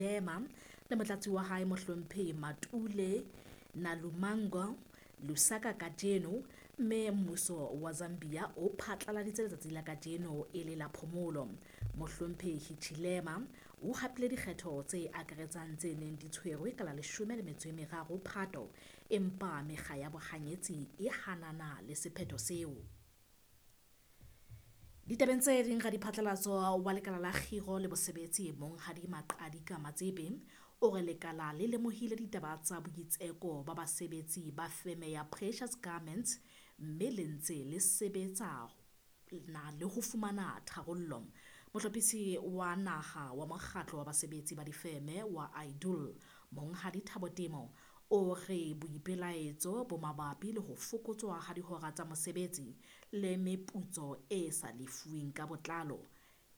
Hichilema le motlatsi wa hae Mohlomphehi Matule Nalumango Lusaka kajeno, mme mmuso wa Zambia o phatlaladitse letsatsi la kajeno e le la phomolo. Mohlomphehi Hichilema o hapile dikgetho tse akaretsang tse neng di tshwerwe ka la 13 Phato, empa mekga ya bohanyetsi e hanana le sephetho seo. Ditabeng tse ding, radiphatlalatso wa lekala la kgiro le bosebetsi Monghadi Maqadika Matsepe o re lekala le lemohile ditaba tsa boitseko ba basebetsi ba feme ya Precious Garments mme le ntse le sebetsa na le ho fumana tharollo. Mohlophisi wa naha wa mokgatlo wa basebetsi ba difeme wa IDUL Monghadi Thabo Temo o re boipelaetso bo mabapi le ho fokotswa ha dihora tsa mosebetsi le meputso e sa lefuweng ka botlalo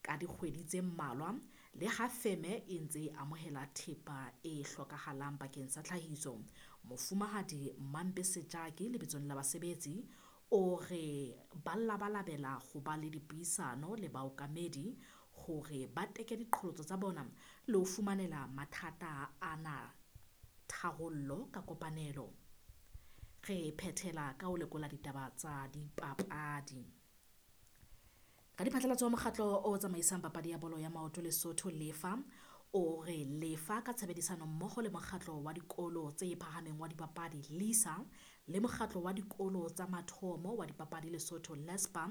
ka dikgwedi tse mmalwa le ha feme e ntse e amohela thepa e hlokahalang bakeng sa tlhahiso. Mofumahadi Mampe Sejake lebitsong la basebetsi o re ba labalabela ho ba le dipuisano le baokamedi hore ba teke diqholotso tsa bona le ho fumanela mathata ana tharollo ka kopanelo. Re phethela ka ho lekola ditaba tsa dipapadi. Ka diphatlalatso wa mokgatlo o tsamaisang papadi ya bolo ya maoto Lesotho Lefa o re Lefa ka tshebedisano mmoho le mokgatlo wa dikolo tse phahameng wa dipapadi LISA le mokgatlo wa dikolo tsa mathomo wa dipapadi Lesotho LESPA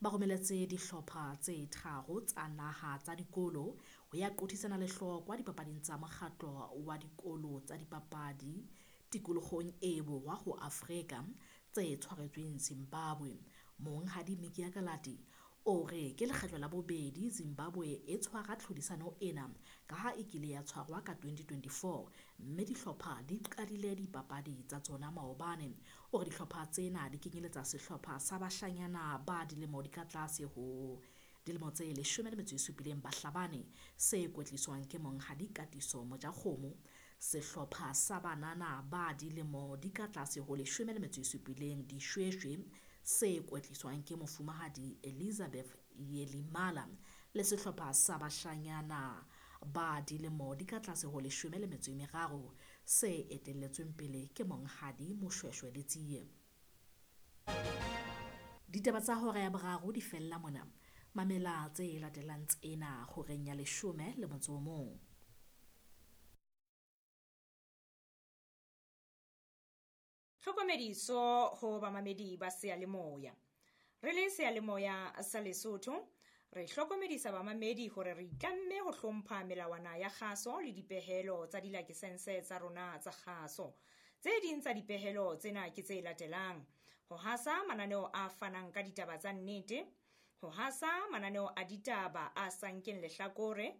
ba romeletse dihlopha tse tharo tsa naha tsa dikolo ho ya qothisana lehlokwa dipapading tsa mokgatlo wa dikolo tsa dipapadi tikolohong e borwa ho Afrika tse tshwaretsweng Zimbabwe. Monghadi Mikia Kalati o re ke lekgetlo la bobedi Zimbabwe e tshwara tlhodisano ena ka ha e kile ya tshwarwa ka 2024 mme dihlopha di qadile dipapadi tsa tsona maobane. O re dihlopha tsena di kenyeletsa sehlopha sa bashanyana ba dilemo di ka tlase ho dilemo tse 17 Bahlabane se kwetliswang ke Monghadi Katiso Mojakgomo, sehlopha sa banana ba dilemo di ka tlase ho 17 Dishweshwe se kwetliswang ke Mofumahadi Elizabeth Yelimala le sehlopha sa bashanyana ba dilemo di ka tlase ho 13 se etelletsweng pele ke Monghadi Moshweshwe Letsie. Ditaba tsa hora ya boraro di fella mona. Mamela tse latelang tsena horeng ya 11. Tlhokomediso ho bamamedi ba seyalemoya. Re le seyalemoya sa Lesotho, re hlokomedisa bamamedi hore re itlamme ho hlompha melawana ya kgaso le dipehelo tsa dilakesense tsa rona tsa kgaso. Tse ding tsa dipehelo tsena ke tse latelang: ho hasa mananeo a fanang ka ditaba tsa nnete, ho hasa mananeo a ditaba a sa nkeng lehlakore,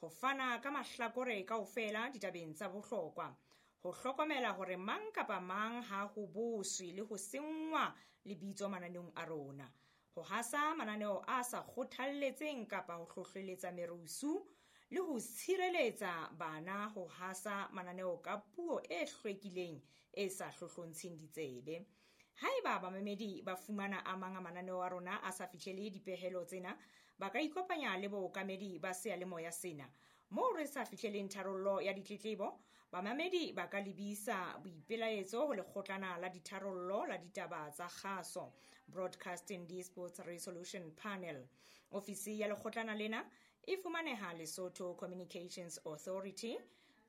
ho fana ka mahlakore kaofela ditabeng tsa bohlokwa, ho hlokomela hore mang kapa mang ha ho boswe le ho senngwa lebitso mananeong a rona, ho hasa mananeo a sa kgothalletseng kapa ho hlohleletsa merusu le ho tshireletsa bana ho hasa mananeo ka puo e hlwekileng e sa hlohlontsheng ditsebe. Haeba bamamedi ba fumana a mang a mananeo a rona a sa fihlele dipehelo tsena, ba ka ikopanya le bookamedi ba seyalemoya sena. Moo re sa fihleleng tharollo ya ditletlebo, bamamedi ba ka lebisa boipelaetso ho lekgotlana la ditharollo la ditaba tsa kgaso, Broadcasting Disputes Resolution Panel. Ofisi ya lekgotlana lena e fumaneha Lesotho Communications Authority,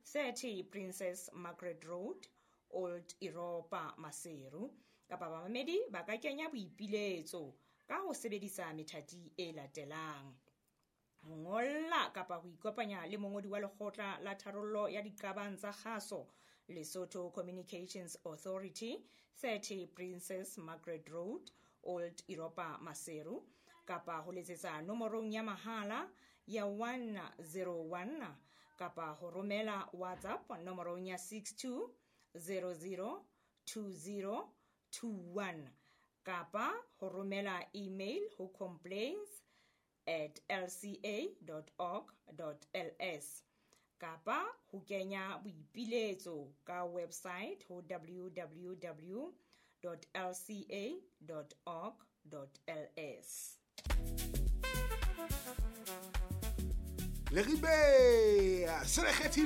30 Princess Margaret Road, Old Europa, Maseru. Kapa bamamedi ba ka kenya boipiletso ka ho sebedisa methati e latelang: ho ngolla kapa ho ikopanya le mongodi wa lekgotla la tharollo ya diqabang tsa kgaso, Lesotho Communications Authority, 30 Princess Margaret Road, Old Europa, Maseru, kapa ho letsetsa nomorong ya mahala ya 101 kapa ho romela WhatsApp nomorong ya 62 00 20 21 kapa ho romela email ho complaints@lca.org.ls kapa ho kenya boipiletso ka website ho www.lca.org.ls. Leribe se le kgethile.